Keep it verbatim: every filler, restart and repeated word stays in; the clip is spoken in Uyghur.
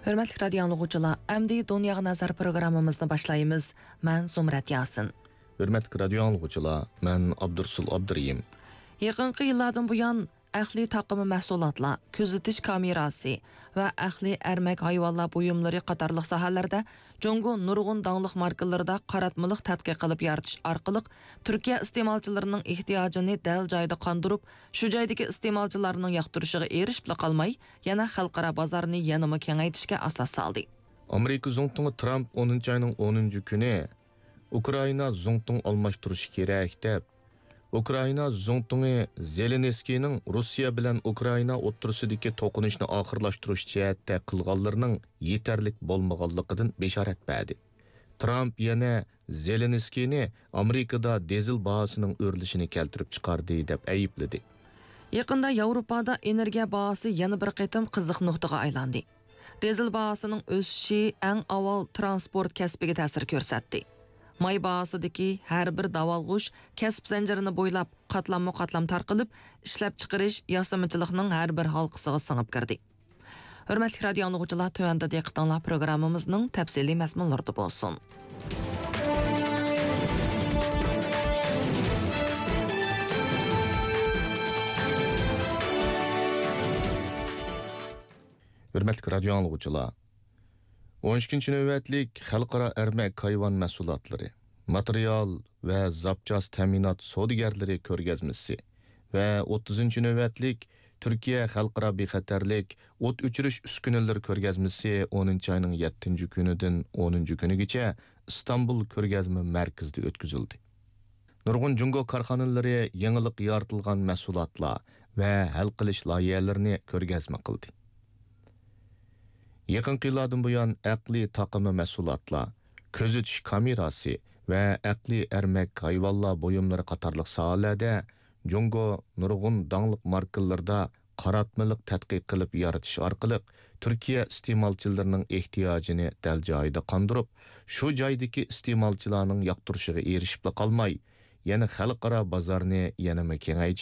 ھۆرمەتلىك رادىيو ئاڭلىغۇچىلار، ئەمدى دۇنياغا نەزەر پروگراممىمىزنى باشلايمىز. مەن زۇمرەت ياسىن. ھۆرمەتلىك رادىيو ئاڭلىغۇچىلار، مەن ئابدۇرسۇل ئابدۇرېھىم. يېقىنقى يىللاردىن بۇيان، ئەقلىي تاقىما مەھسۇلاتلار، كۆزىتىش كامېراسى ۋە ئەقلىي ئەرمەك ھايۋانلار بۇيۇملىرى قاتارلىق ساھەلەردە جۇڭگو نۇرغۇن داڭلىق ماركىلىرىدا قاراتمىلىق تەتقىق قىلىپ يارىتىش ئارقىلىق تۈركىيە ئىستېمالچىلىرىنىڭ ئېھتىياجىنى دەل جايىدا قاندۇرۇپ، شۇ جايدىكى ئىستېمالچىلارنىڭ ياقتۇرۇشىغا ئېرىشىپلا قالماي، يەنە خەلقئارا بازارنى يەنىمۇ كېڭەيتىشكە ئاساس سالدى. ئامېرىكا زۇڭتۇڭى ترامپ ئونىنچى ئاينىڭ ئونىنچى كۈنى ئۇكرائىنا زۇڭتۇڭ ئالماشتۇرۇشى كېرەك دەپ، ئۇكرائىنا زۇڭتۇڭى زېلېنسكىينىڭ روسىيە بىلەن ئۇكرائىنا ئوتتۇرىسىدىكى توقۇنۇشنى ئاخىرلاشتۇرۇش جەھەتتە قىلغانلىرىنىڭ يېتەرلىك بولمىغانلىقىدىن بېشارەت بەردى. ترامپ يەنە زېلېنسكىينى ئامېرىكىدا دىزېل باھاسىنىڭ ئۆرلىشىنى كەلتۈرۈپ چىقاردى دەپ ئەيىبلىدى. يېقىندا ياۋروپادا ئېنېرگىيە باھاسى يەنە بىر قېتىم قىزىق نۇقتىغا ئايلاندى. دىزېل باھاسىنىڭ ئۆسۈشى ئەڭ ئاۋۋال ترانسپورت كەسپىگە تەسىر كۆرسەتتى. ماي باھاسىدىكى ھەر بىر داۋالغۇش كەسىپ زەنجىرىنى بويلاپ قاتلاممۇ قاتلام تارقىلىپ، ئىشلەپچىقىرىش، ياسىمىچىلىقنىڭ ھەر بىر ھالقىسىغا سىڭىپ كىردى. ھۆرمەتلىك رادىيو ئاڭلىغۇچىلار، تۆۋەندە دىققىتىڭلار پروگراممىمىزنىڭ تەپسىلىي مەزمۇنلىرىدا بولسۇن. ھۆرمەتلىك رادىيو ئاڭلىغۇچىلار، ئون ئىككىنچى نۆۋەتلىك خەلقئارا ئەرمەك ھايۋان مەھسۇلاتلىرى، ماتېرىيال ۋە زاپچاس تەمىنات سودىگەرلىرى كۆرگەزمىسى ۋە ئوتتۇزىنچى نۆۋەتلىك تۈركىيە خەلقئارا بىخەتەرلىك ئوت ئۆچۈرۈش ئۈسكۈنىلىرى كۆرگەزمىسى ئونىنچى ئاينىڭ يەتتىنچى كۈنىدىن ئونىنچى كۈنىگىچە ئىستانبۇل كۆرگەزمە مەركىزىدە ئۆتكۈزۈلدى. نۇرغۇن جۇڭگو كارخانىلىرى يېڭىلىق يارىتىلغان مەھسۇلاتلار ۋە ھەل قىلىش لايىھەلىرىنى كۆرگەزمە قىلدى. يېقىنقى يىللاردىن بۇيان، ئەقلىي تاقىما مەھسۇلاتلار، كۆزىتىش كامېراسى ۋە ئەقلىي ئەرمەك ھايۋانلار بۇيۇملىرى قاتارلىق ساھەلەردە جۇڭگو نۇرغۇن داڭلىق ماركىلىرىدا قاراتمىلىق تەتقىق قىلىپ يارىتىش ئارقىلىق، تۈركىيە ئىستېمالچىلىرىنىڭ ئېھتىياجىنى دەل جايىدا قاندۇرۇپ، شۇ جايدىكى ئىستېمالچىلارنىڭ ياقتۇرۇشىغا ئېرىشىپلا قالماي، يەنە خەلقئارا بازارنى يەنىمۇ كېڭەيتىش